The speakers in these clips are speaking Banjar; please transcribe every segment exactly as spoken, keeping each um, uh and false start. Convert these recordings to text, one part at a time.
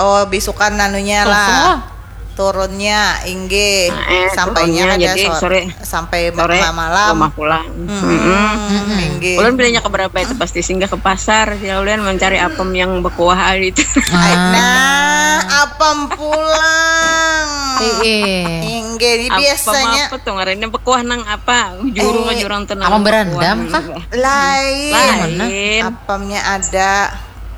Oh, bisukan anunya lah. Turunnya, inggih. Nah, eh, sampainya turunnya, kada jadi sore, sore, sampai sore ma-, malam. Rumah pulang. Mm-mm. Mm-mm. Inggih. Ulun bilanya ke berapa itu pasti singgah ke pasar, ya, ulun mencari apem yang berkuah itu. Ah. Nah, apem pulang. Iya. Inggih, ini biasanya apa tuh ngarannya, berkuah nang apa? Jurung, eh, jurung tuh nang apem berandam kah? Lain. Lain. Apemnya ada.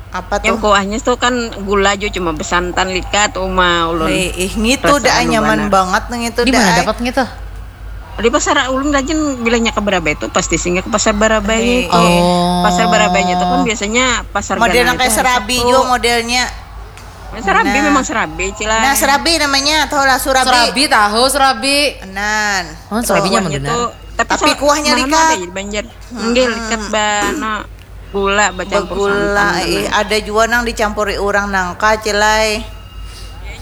Apa tuh? Yang kuahnya tuh kan gula aja, cuma besantan likat uma ulun. Eh, ih, ngitu dah nyaman banget nang itu. Di mana dapat ngitu? Di pasar ulun rajin bilanya ke Barabai itu pasti singgah ke pasar Barabai. Eh, itu. Oh. Pasar Barabainya itu kan biasanya pasar model nang kayak serabi juga modelnya. Serabi memang serabi, Cilai. Nah, serabi namanya, tahu lah serabi. Serabi tahu, serabi. Nan. Oh, serabinya tuh, tapi kuahnya likat. Ada di Banjar. Enggak likat bana. Gula bacampur santan. Ih, ada jua nang dicampuri urang nangka, Cilai.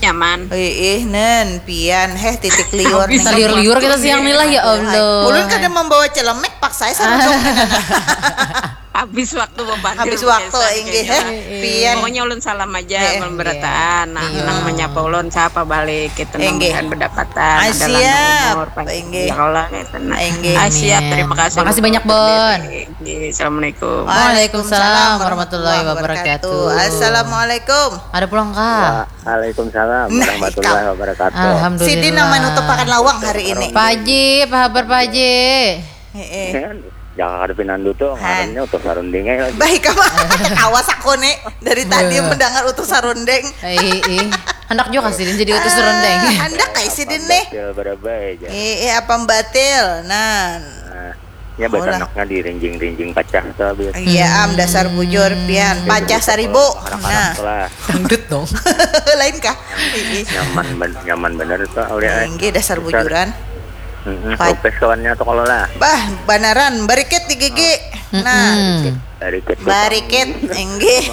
Nyaman. Ih, nen, pian, heh, titik liur. Habis nih. Liur-liur kita siang nih lah, ya Allah. Ulun kada membawa celemek, paksa ai saruduk. Habis waktu bebantu. Habis waktu, inggih, heh, pian. Pokoknya ulun salam aja, ulun berataan. Nah, nang menyapa ulun, sapa balik, kita nang bukan berdapatan, ada lanang umur, panjang umur, ya Allah, gitu. Nah, siap, terima kasih. Makasih banyak, Bon. Assalamualaikum. Waalaikumsalam warahmatullahi wabarakatuh. Assalamualaikum. Ada pulang, Kak. Waalaikumsalam warahmatullahi wabarakatuh. Alhamdulillah. Sidin nang manutupakan lawang hari ini. Pak Haji, apa kabar, Pak Haji? Heeh. Jangan ada pinandu tuh, ngarannya utuh sarunding aja lagi. Baik, apa? Awas aku nih, dari tadi mendengar utuh sarunding. Ih, ih. Handak juga sidin jadi utuh sarunding. Handak kayak sidin nih. Batil barabai aja. Ih, ih, apa batil? Nah. Nah. Ya, batanaknya dirinjing-rinjing pacah tuh, biar. Iya, am, dasar bujur, pian. Pacah saribu. Nah. Dangdut dong. Lain kah? Nyaman ben-, nyaman bener tuh, Aulia. Inggih, dasar bujuran. Mm-mm, lupis kawannya tuh kalau lah. Bah, banaran, barikit di gigi. Nah. Barikit. Barikit, inggih.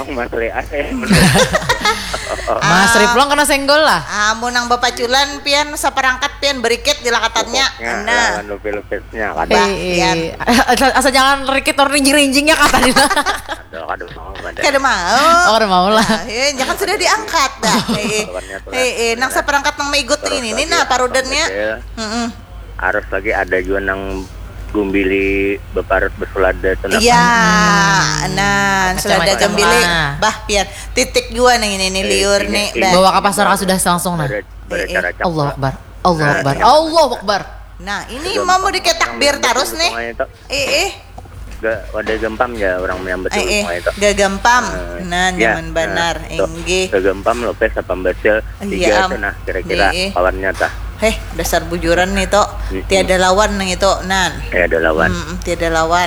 Mas Riplong kena senggol lah. Amun nang bapaculan, pian, saparangkat, pian, barikit dilakatannya. Nah. Lawan lupis-lupis. Nya, kada. Bah, eh, eh. Asa, asa jangan rikit tur rinjing-rinjingnya kah tadi lah. Kada, kada mau, kada. Kada mau. Oh, kada mau lah. Nah, ya, jangan sudah diangkat dah. Eh, eh. Lawannya tuh lah. Eh, eh, nang saparangkat nang maigut ini, nah, parudannya. Heeh. Harus lagi ada jua nang gumbili beparut besulada tuh, nah. Iya, nah, sulada gumbili. Bah, pian. Titik jua nang ini, nih, liur, nih. Bawa ke pasar kah sudah langsung, nah. Eh, eh. Allahu Akbar. Allahu Akbar. Allahu Akbar. Nah, ini mau diketak bir terus nih. Eh, eh. Ga, wadah gampam ya orang menyambut itu. Ga gampam. Nah, nyaman banar. Inggih. Ga gampam, lupis, apa basil. Tiga tuh nah, kira-kira kawannya tah. Heh, dasar bujuran nih, Tok. Tiada lawan nang itu, nan. Tiada lawan. Mm, tiada lawan.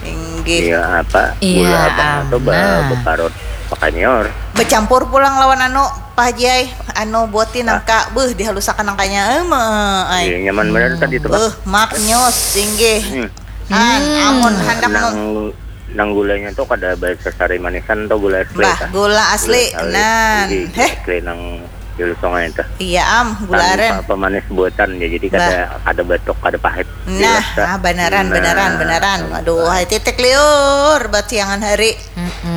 Inggih. Iya, apa? Iya, gula abang itu be-, beparut pakai nior. Becampur pulang lawan anu, Pak Haji ai. Anu, buati nangka, beuh, dihalusakan nangkanya. Em, ai. Iya, nyaman bener tadi itu, Pak. Beuh, maknyus, inggih. Hmm. An, amun handak nang, nang gulanya tuh kada basasari manisan tuh, gula asli. Bah, gula asli, nan. Heh. Gula asli nang Julu Sungai itu. Iya, am, gula aren. Tanpa pemanis buatan ya, jadi kada, kada batuk, kada pahit. Nah, ah, banaran, banaran, banaran. Aduh, hai titik liur, buat siangan hari.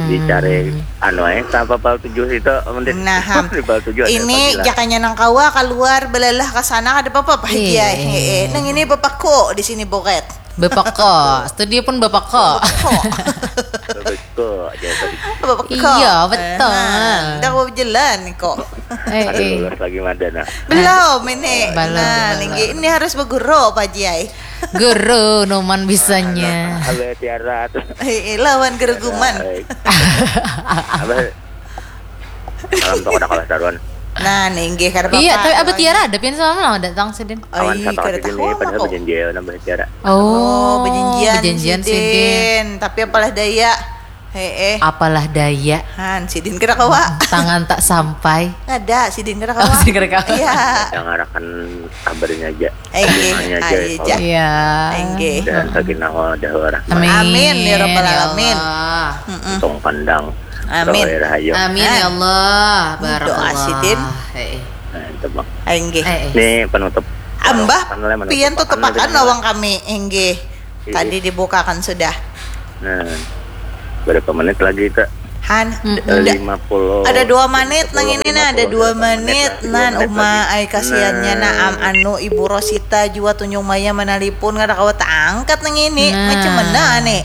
Dicari, anu, eh, tanpa pal tujuh itu, mending. Nah, ham. Di pal tujuh ada. Ini panggilan. Jakanya nang kawa, keluar, belalah ke sana, kada apa-apa, Pak Haji, eh. Iya. Nang ini bapako di sini, boket. Bapako, studio pun bapako. Bapako. Bapako, aja tadi. Bapako. Iya, betul. Eh, nah, dah mau jalan kok. Eh, ada eh. Lulus lagi mada, nah. Belum ini. Belum, nah, belum. Lagi ini harus berguru, Pak Haji, ai. Guru, numan bisanya. Nah, nah, Abah Tiara tuh. Eh, eh, lawan gereguman. Abah, Abah, Malam tu kada kalah taruan. Nah, nih, inggih, kada apa-apa. Iya, tapi Abah Tiara ada pian semalam lah datang sidin. Awan satu sidin nih, padahal aku bajanjian nang Abah Tiara. Oh, bajanjian sidin. Tapi apalah daya. Heeh. Apalah daya. Han, sidin kada kawa. Tangan tak sampai. Kada, sidin kada kawa. Oh, sidin kada kawa. Iya. Dangarakan kabarnya aja. Inggih, aja. Iya. Inggih. Dan sakinah mawaddah warahmah. Amin. Amin, ya rabbal alamin. Untung pandang. Amin. Amin, ya Allah. Barakallah. Doa sidin. Nah, itu, Bang. Inggih. Ini penutup. Ambah, pian tutupakan lawang kami. Inggih. Tadi dibukakan sudah. Nah, berapa menit lagi, Kak? Han, ada lima puluh, ada dua menit nang ini nah, ada dua menit nan. Uma ai, kasiannya nah. Am, anu, Ibu Rosita jua Tunjung Maya manalipun, kada kawa taangkat nang ini. Nah. Macam mana nih?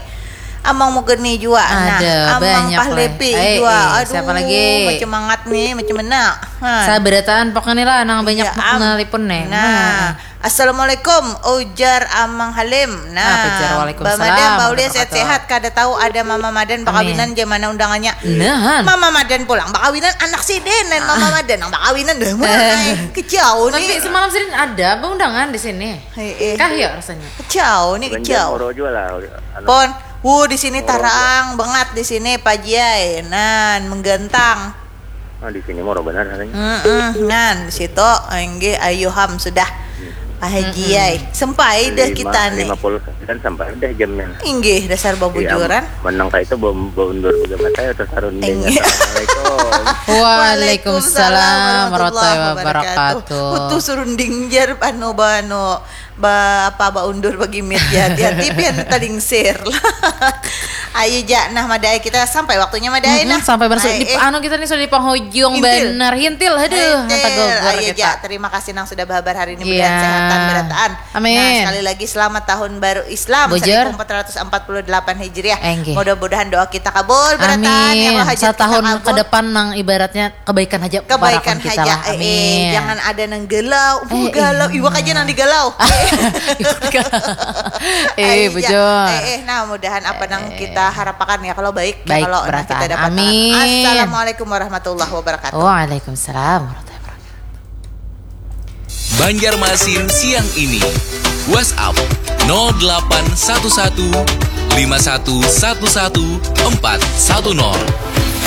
Amang Mugeni jua nah, Amang Pahlepi jua. Aduh, siapa lagi? Macam mangat nih, macam mana? Nah. Sabarataan pokoknya lah, nang banyak manalipun nih. Nah. Assalamualaikum, ujar Amang Halim. Nah, Bamadan, Baulia sehat-sehat. Kada tahu ada Mama Madan bakawinan, jam mana undangannya. Nah. Mama Madan pulang bakawinan anak sidin, dan Mama Madan nang bakawinan dah. Kejauh nih. Tapi semalam sidin ada beundangan di sini. Kah ya rasanya? Kejauh nih, kejauh. Pon, wuh, di sini tarang banget di sini, Pajiai. Nan menggantang. Ah, di sini murah benar harganya. Mm-mm, nan di situ, enggih, ayu ham sudah. Pak Haji ai, sampai dah kita nih. Lima puluh sembilan sampai dah jamnya. Inggih, dasar babujuran. Menang kayak itu baundur juga mata ya, terus harun. Assalamualaikum. Waalaikumsalam warahmatullahi wabarakatuh. Utuh surunding jar anu ba anu ba apa ba undur bagi mit ya, hati-hati pian talingsir. Ayo ja, nah madai kita sampai waktunya madai nah. Sampai benar di anu kita nih sudah di penghujung benar, hintil, aduh. Ayo ja, terima kasih nang sudah bahabar hari ini, mudahan sehatan berataan. Amin. Nah, sekali lagi selamat tahun baru Islam seribu empat ratus empat puluh delapan Hijriah. Mudah-mudahan doa kita kabul berataan ya. Amin. Satahun ke depan nang ibaratnya kebaikan aja, kebaikan aja. Amin. Jangan ada nang galau. Uh, galau. Iwak aja nang digalau. Eh, bujur. Eh, nah, mudahan apa nang kita harapakan ya, kalau baik, ya, kalau nang kita dapatkan. Amin. Assalamualaikum warahmatullahi wabarakatuh. Waalaikumsalam warahmatullahi wabarakatuh. Banjarmasin siang ini. WhatsApp nol delapan satu satu lima satu satu satu empat satu nol.